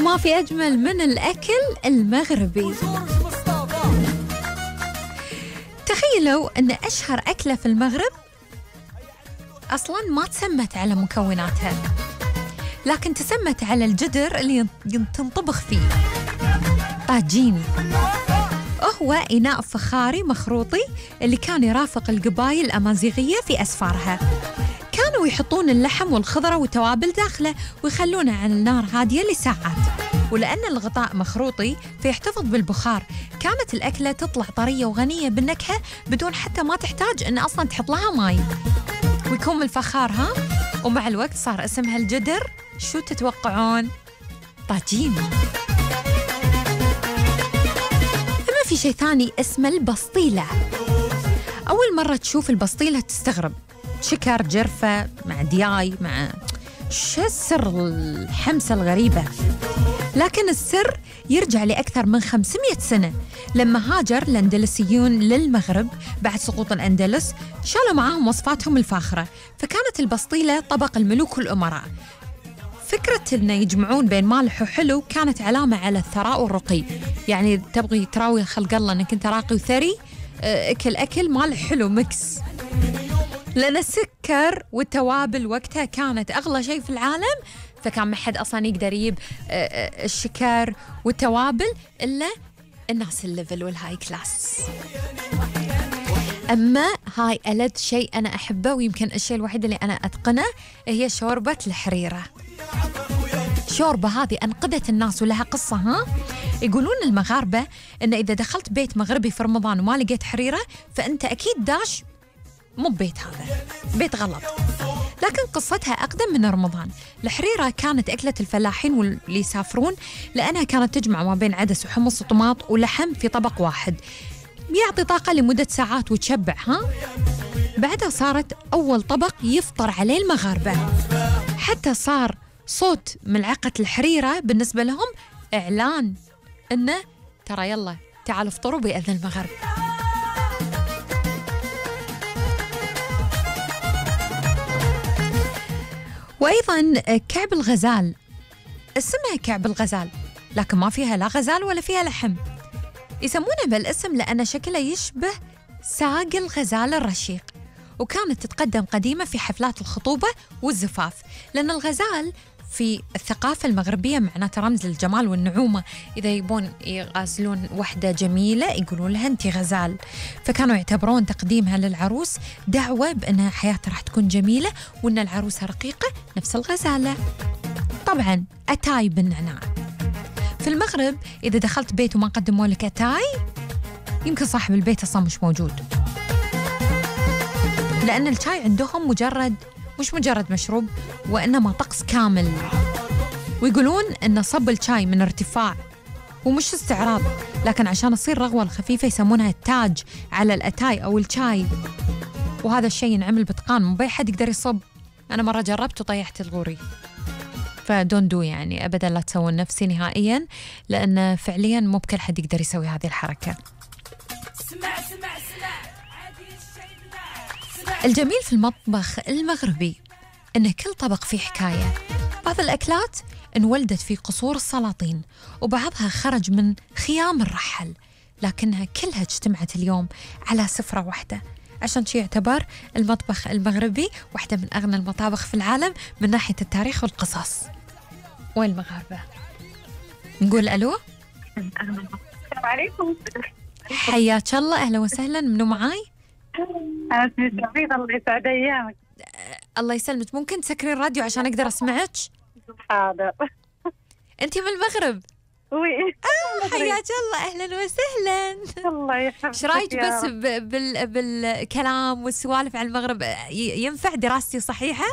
وما في أجمل من الأكل المغربي. تخيلوا أن أشهر أكلة في المغرب أصلاً ما تسمت على مكوناتها، لكن تسمت على الجدر اللي تنطبخ فيه. طاجين، هو إناء فخاري مخروطي اللي كان يرافق القبائل الأمازيغية في أسفارها. كانوا يحطون اللحم والخضرة والتوابل داخله ويخلونه على النار هادية لساعات، ولأن الغطاء مخروطي فيحتفظ بالبخار. كانت الأكلة تطلع طرية وغنية بالنكهة بدون حتى ما تحتاج أن أصلاً تحط لها ماي، ويكون الفخار ومع الوقت صار اسمها الجدر. شو تتوقعون؟ طاجين. أما في شيء ثاني اسمه البسطيلة. أول مرة تشوف البسطيلة تستغرب، شكر جرفة مع دياي مع شو السر الحمسة الغريبة؟ لكن السر يرجع لأكثر من 500 سنة، لما هاجر الأندلسيون للمغرب بعد سقوط الأندلس شالوا معاهم وصفاتهم الفاخرة، فكانت البسطيلة طبق الملوك والأمراء. فكرة إنه يجمعون بين مالح وحلو كانت علامة على الثراء والرقي، يعني تبغي تراوي خلق الله إنك أنت راقي وثري، أكل مالح حلو ميكس. لأن السكر والتوابل وقتها كانت أغلى شيء في العالم، فكان ما حد أصلاً يقدر يجيب الشكر والتوابل إلا الناس الليفل والهاي كلاس. أما هاي ألذ شيء أنا أحبه، ويمكن الشيء الوحيد اللي أنا أتقنه، هي شوربة الحريرة. شوربة هذه أنقذت الناس ولها قصة. يقولون المغاربة إن إذا دخلت بيت مغربي في رمضان وما لقيت حريرة فأنت أكيد داش مو بيت، هذا بيت غلط. لكن قصتها أقدم من رمضان. الحريرة كانت أكلة الفلاحين واللي يسافرون، لأنها كانت تجمع ما بين عدس وحمص وطماط ولحم في طبق واحد، يعطي طاقة لمدة ساعات وتشبع. بعدها صارت أول طبق يفطر عليه المغاربة، حتى صار صوت ملعقة الحريرة بالنسبة لهم إعلان إنه ترى يلا تعالوا افطروا بأذن المغرب. وأيضاً كعب الغزال، اسمها كعب الغزال لكن ما فيها لا غزال ولا فيها لحم. يسمونه بالاسم لأن شكله يشبه ساق الغزال الرشيق، وكانت تتقدم قديمة في حفلات الخطوبة والزفاف، لأن الغزال في الثقافة المغربية معناته رمز للجمال والنعومة. إذا يبون يغازلون وحدة جميلة يقولون لها أنت غزال، فكانوا يعتبرون تقديمها للعروس دعوة بأن حياتها راح تكون جميلة وأن العروسة رقيقة نفس الغزالة. طبعاً أتاي بالنعناع. في المغرب إذا دخلت بيت وما قدموا لك أتاي يمكن صاحب البيت أصلا مش موجود، لأن الشاي عندهم مش مجرد مشروب، وإنما طقس كامل. ويقولون إن صب الشاي من ارتفاع ومش استعراض، لكن عشان تصير رغوة الخفيفة يسمونها التاج على الأتاي أو الشاي، وهذا الشيء ينعمل بإتقان، مو بأي حد يقدر يصب. أنا مرة جربت وطيحت الغوري، فدون دو يعني أبدا لا تسوون نفسي نهائيا، لأن فعليا مو بكل حد يقدر يسوي هذه الحركة. الجميل في المطبخ المغربي إن كل طبق فيه حكاية. بعض الأكلات انولدت في قصور السلاطين، وبعضها خرج من خيام الرحل، لكنها كلها اجتمعت اليوم على سفرة واحدة. عشان شي يعتبر المطبخ المغربي واحدة من أغنى المطابخ في العالم من ناحية التاريخ والقصص. والمغاربة نقول ألو. السلام عليكم. حياك الله، أهلا وسهلا. منو معاي؟ أنا اسمي سعيد، الله يسعد أيامك. الله يسلمك، ممكن تسكرين الراديو عشان أقدر أسمعك؟ حاضر. أنتي من المغرب؟ وي. حياك الله، أهلا وسهلا. الله يحفظك. ايش رايك بس بالكلام والسوالف عن المغرب؟ ينفع دراستي صحيحة؟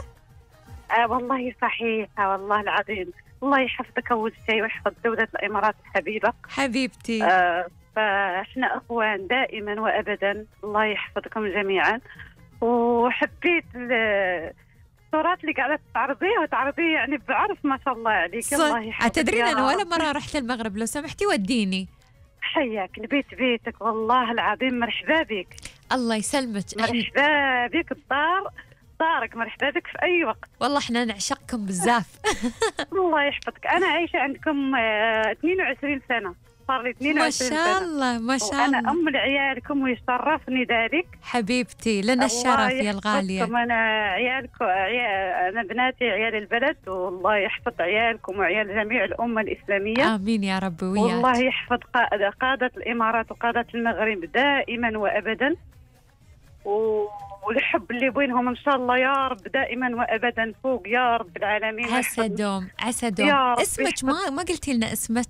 والله صحيحة، والله العظيم. الله يحفظك أول شيء ويحفظ دولة الإمارات الحبيبة حبيبتي. فإحنا أخوان دائما وأبدا، الله يحفظكم جميعا. وحبيت الصورات اللي قاعدة تعرضيه يعني بعرف ما شاء الله عليك. الله يحفظك. تدرين أنا ولا مرة رحت المغرب، لو سمحتي وديني. حياك، البيت بيتك والله العظيم. مرحبا بك. الله يسلمك. مرحبا بك. الدار دارك، مرحبا بك في أي وقت. والله احنا نعشقكم بزاف. الله يحفظك. أنا عايشة عندكم 22 سنة، صار لي 22 سنة. ما شاء الله ما شاء الله. وأنا أم لعيالكم ويشرفني ذلك. حبيبتي لنا الشرف يا الغالية. أنا عيالكم أنا بناتي عيال البلد، والله يحفظ عيالكم وعيال جميع الأمة الإسلامية. آمين يا رب وياك. والله يحفظ قادة الإمارات وقادة المغرب دائما وأبدا، والحب اللي بينهم إن شاء الله يا رب دائما وأبدا فوق يا رب العالمين. عسى دوم عسى دوم. اسمك ما قلتي لنا اسمك؟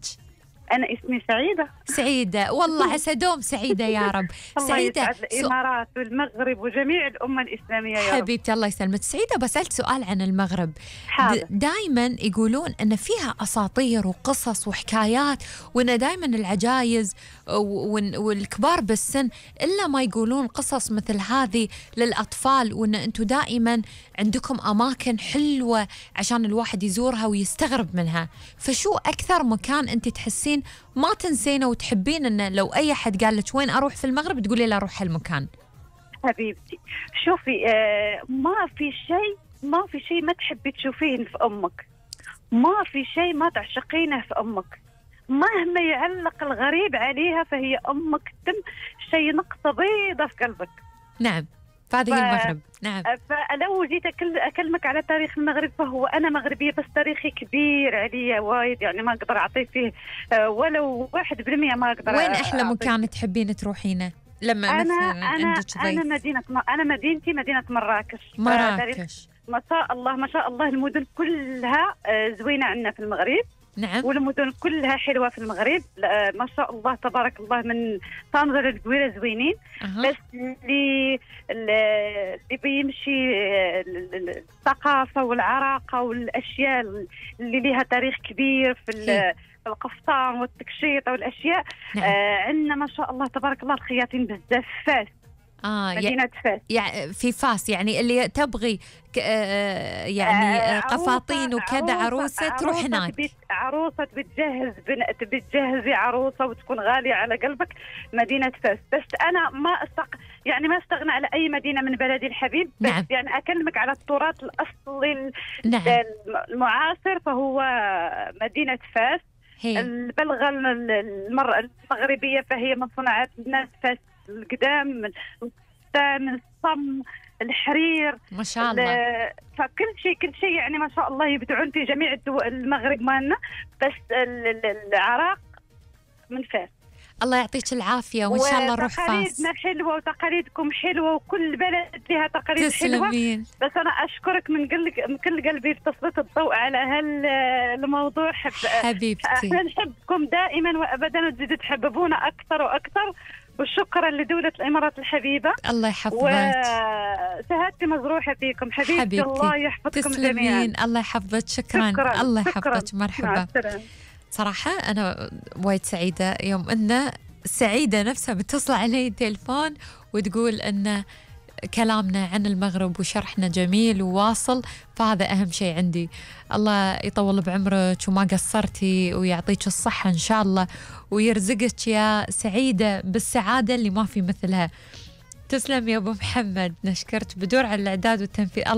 أنا اسمي سعيدة. سعيدة والله عسى دوم سعيدة يا رب. سعيدة. الله يسعد الإمارات والمغرب وجميع الأمة الإسلامية يا رب. حبيبتي الله يسلمك. سعيدة بسألت سؤال عن المغرب. دائما يقولون أن فيها أساطير وقصص وحكايات، وأن دائما العجايز والكبار بالسن إلا ما يقولون قصص مثل هذه للأطفال، وأن أنتم دائما عندكم أماكن حلوة عشان الواحد يزورها ويستغرب منها. فشو أكثر مكان أنت تحسين ما تنسينه وتحبين أنه لو أي حد قال لك وين أروح في المغرب تقولي له أروح هالمكان؟ حبيبتي شوفي، ما في شيء ما تحبي تشوفين في أمك، ما في شيء ما تعشقينه في أمك، مهما يعلق الغريب عليها فهي أمك تم شيء نقطة بيضة في قلبك. نعم فهذه المغرب. نعم. فلو جيت أكلمك على تاريخ المغرب فهو أنا مغربية، بس تاريخي كبير عليا وايد، يعني ما أقدر أعطيه فيه ولو 1% ما أقدر. وين أحلى مكان تحبين تروحينه لما مثلا عندك ضيف؟ أنا مدينتي مدينة مراكش. ما شاء الله ما شاء الله المدن كلها زوينة عندنا في المغرب. نعم. والمدن كلها حلوة في المغرب، ما شاء الله تبارك الله، من طنجة للقويرة زوينين. بس اللي بيمشي الثقافة والعراقة والأشياء اللي لها تاريخ كبير في القفطان والتكشيط والأشياء. عندنا ما شاء الله تبارك الله الخياطين بزاف. فاس مدينة فاس، يعني في فاس، يعني اللي تبغي يعني قفاطين وكذا عروسة تروح هناك. عروسة بتجهزي عروسة وتكون غالية على قلبك، مدينة فاس. بس أنا ما استغنى على أي مدينة من بلدي الحبيب. بس نعم. يعني أكلمك على التراث الأصلي نعم. المعاصر فهو مدينة فاس. البلغة المغربية فهي من صناعات الناس فاس القدام، من الصم، الحرير، ما شاء الله. فكل شيء يعني ما شاء الله يبدعون في جميع الدول. المغرب مالنا، بس العراق من فاس. الله يعطيك العافية وإن شاء الله نروح فاس. وتقاليدنا حلوة وتقاليدكم حلوة، وكل بلد لها تقاليد حلوة. بس أنا أشكرك من كل قلبي في تسليط الضوء على هالموضوع. حبيبتي احنا نحبكم دائما وأبدا، وتزيدوا تحببونا أكثر وأكثر. وشكرا لدولة الإمارات الحبيبة. الله يحفظك. وشهادتي مزروحة فيكم حبيبتي. الله يحفظكم جميعا. الله يحفظك. شكرا. الله يحفظك. مرحبا. صراحة أنا وايد سعيدة يوم أن سعيدة نفسها بتصل علي التليفون وتقول أن كلامنا عن المغرب وشرحنا جميل وواصل، فهذا أهم شيء عندي. الله يطول بعمرك وما قصرتي ويعطيك الصحة إن شاء الله، ويرزقك يا سعيدة بالسعادة اللي ما في مثلها. تسلم يا أبو محمد، نشكرت بدور على الإعداد والتنفيذ.